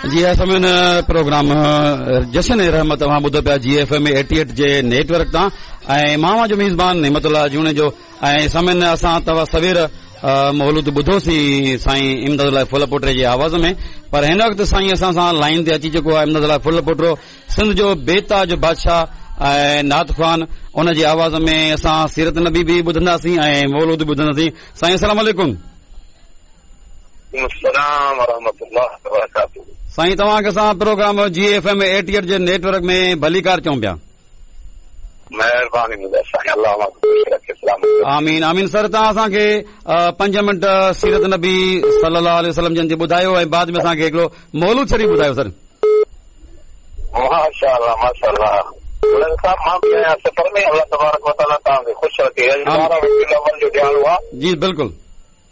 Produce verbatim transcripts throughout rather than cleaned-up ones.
جي سامعين، پروگرام جشن رحمت اوهان ٻڌو پيا جي ايف ايم ايٽي ايٽ جي نيٽ ورڪ تان ۽ مان اوهان جو ميزبان نعمت الله جوڻيجو. ۽ سامعين، اسان توهان سوير مولود ٻڌوسين سائين امداد الله ڦل پوٽري جي آواز ۾، پر هن وقت سائين اسان سان لائن تي اچي چڪو آهي امداد الله ڦل پوٽرو، سنڌ جو بيتاج بادشاهه ۽ نعت خوان. ان جي آواز ۾ اسان سيرت نبي به ٻڌنداسين ۽ مولود به ٻڌنداسين. سائين السلام عليڪم. السلام ورحمة الله وبرڪاته. سائين، توهان کي اسان programme G F M eighty eight جي نيٽ ورڪ ۾ ڀليڪار چئون پيا. مهرباني منهنجا سائين، الله اوهان کي خوش رکي، سلامت رکي. آمين آمين. سر، توهان اسان کي پنج منٽ سيرت نبي صلي الله عليه وسلم جن جي ٻڌايو ۽ بعد ۾ اسان کي هڪڙو مولود شريف ٻڌايو سر. ماشاء الله، ماشاء الله. صاحب، مان به آهيان سفر ۾. الله تبارڪ وتعاليٰ توهان کي خوش رکي. اڄ ٻارهن ربيع الاول جو ڏهاڙو آهي. جي بلڪل.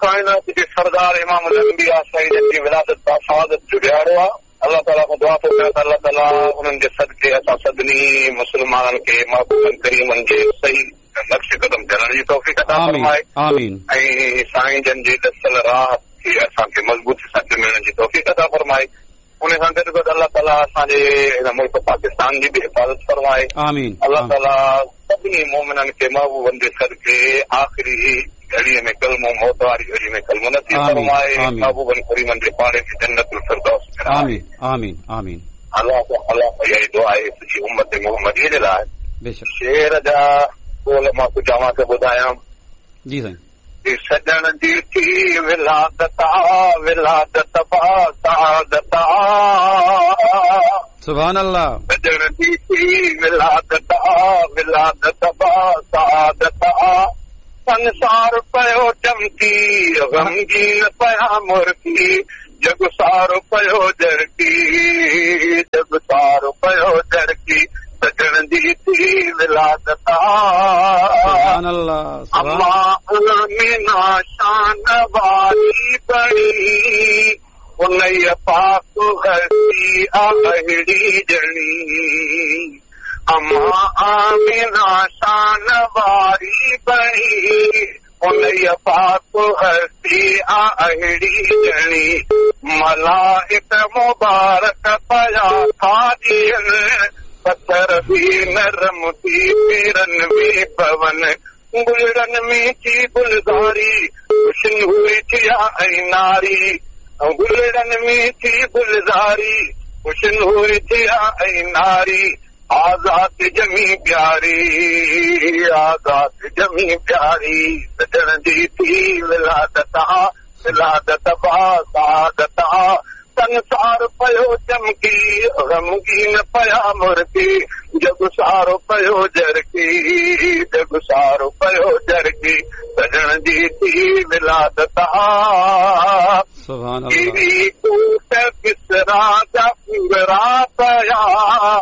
ڪائنات جي سردار امام الانبياء سائين جي ولادت سعادت جو ڏهاڙو آهي. الله تعاليٰ کان دعا ٿو ڪيان ته الله تعاليٰ انهن جي صدقي اسان سڀني مسلمانن کي محبوبن ڪريمن جي صحيح نقش قدم چلڻ جي توفيق عطا فرمائي. آمين. ۽ سائين جن جي ڏسيل راهه کي اسان کي مضبوطي سان چمڻ جي توفيق عطا فرمائي. ان سان گڏ گڏ الله تعاليٰ اسان جي هن ملڪ پاڪستان جي به حفاظت فرمائي. آمين. الله تعاليٰ سڀني مومنن کي محبوبن جي صدقي آخري گهڙيءَ ۾ ڪلمو، موت واري گهڙي ۾ ڪلمو نصيب فرمائي، محبوبن ڪريمن جي پاڙي ۾ جنت الفردوس. آمين آمين آمين. الله الله اها ئي دعا آهي سڄي امت محمديءَ جي لاءِ. بيشڪ. شعر جا ٻول مان ڪجهه اوهان کي ٻڌايان. جي سائين. سڄڻ جي ٿي ولادت آ، ولادت با سعادت آ. سبحان الله. سڄڻ جي ٿي ولادت آ، ولادت با سعادت آ. سنسار پيو چمڪي، غمگين پيا مرڪي، جڳ سارو پيو جرڪي، جڳ سارو پيو جرڪي. سڄڻ جي ٿي ولادت آ. سبحان الله. اما آمنه شان واري بڻي، انهيءَ پاڪ هستي اهڙي ڄڻي. اما آمنه شان واري بڻي، انهيءَ پاڪ هستي اهڙي ڄڻي. ملائڪ مبارڪ پيا ٿا ڏين، پٿر به نرم ٿي پيرن ۾ پون. گلڙن ۾ ٿي گلزاري، خوشنوري ٿيا ۽ ناري. گلڙن ۾ ٿي گلزاري، خوشنوري ٿيا ۽ ناري. آزاد ڄمي پياري، آزاد ڄمي پياري. سڄڻ جي ٿي ولادت آ، ولادت با سعادت آ. سنسار پيو چمڪي، غمگين پيا مرڪي، جڳ سارو پيو جرڪي، جڳ سارو پيو جرڪي. سڄڻ جي ٿي ولادت آ. سبحان الله. ڪوٽ ڪسرا جا پورا پيا.